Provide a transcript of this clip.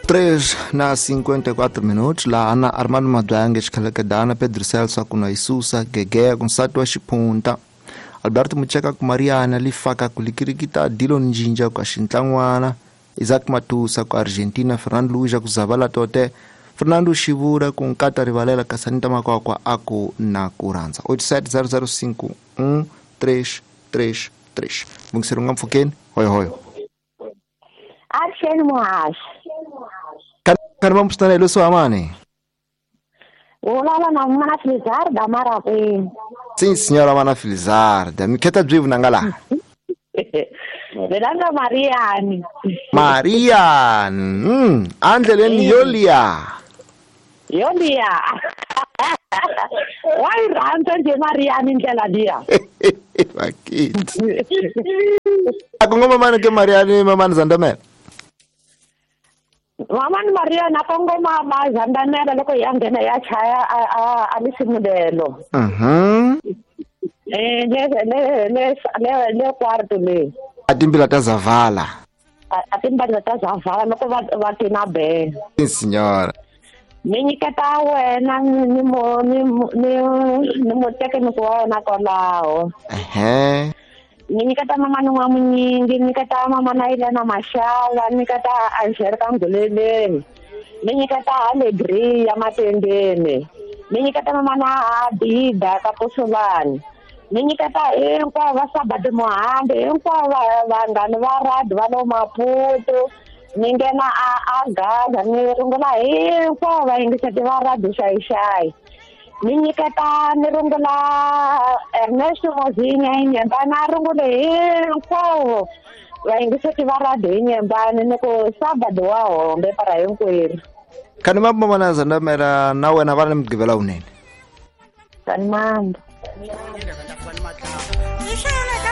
3:54 laha na Armando Mabyange Xikhalekadana Pedro Celso kuna Isusa Gegea kunsati wa Xiphunta Alberto Mucheka ku Mariana Lifaka ku Likirikita Dillon Njinja ku Xintlan'wana Isaac Matusa ku Argentina Fernando Luja ku Zavala Tote Fernando Xivura ku Nkata Rivalela Kasanita Makwakwa aku na ku rhandza 87005 1333 Mungiseri nga mpfhukeni hoyo hoyo Action muhaxi Kani va mpfutana hi leswi amani Ulala na mana Filizarda marakwini Sim senhora mana Filizarda mi kheta byi vunanga laha Velanga Mariani Marian andleleni yolia Yolia Wa yi rhandza nje Mariani ndlela liya Vakiti Akongoma mani ke Mariani mamani Zandamela Mamani Mariani akongoma ma Zandamela loko ya nghena ya chaya a lisimulelo Le quarto le Atimbila ta Zavala Atimbila ta Zavala loko va tina be Sim senhora Mi nyiketa wena ni mo ni ni mutekiniki wa wena kwalaho Ni nyiketa mama ni wa Munyingi ni nyiketa mama na Ilena Maxava ni nyiketa Angelica Nguleleni ni nyiketa Alegria ya Matendeni ni nyiketa mama na Abida ka Pusulani ni nyiketa hinkwavo va Sabadi Muhambi hinkwavo vanghani va radi va lo Maputo ni nghena a Gaza ni rungula hinkwavo vayingiseti va radi xayixayi ni nyiketa ni rungula Ernesto Mozinya hi Nyembani a rungule hinkwavo vayingiseti va radi hi Nyembani ni ku Sabadi wa hombe para hinkwerhu Kani mambo mana Zandamela na wena va ni mugqivela wunene Kani mambo Ni hlawula ka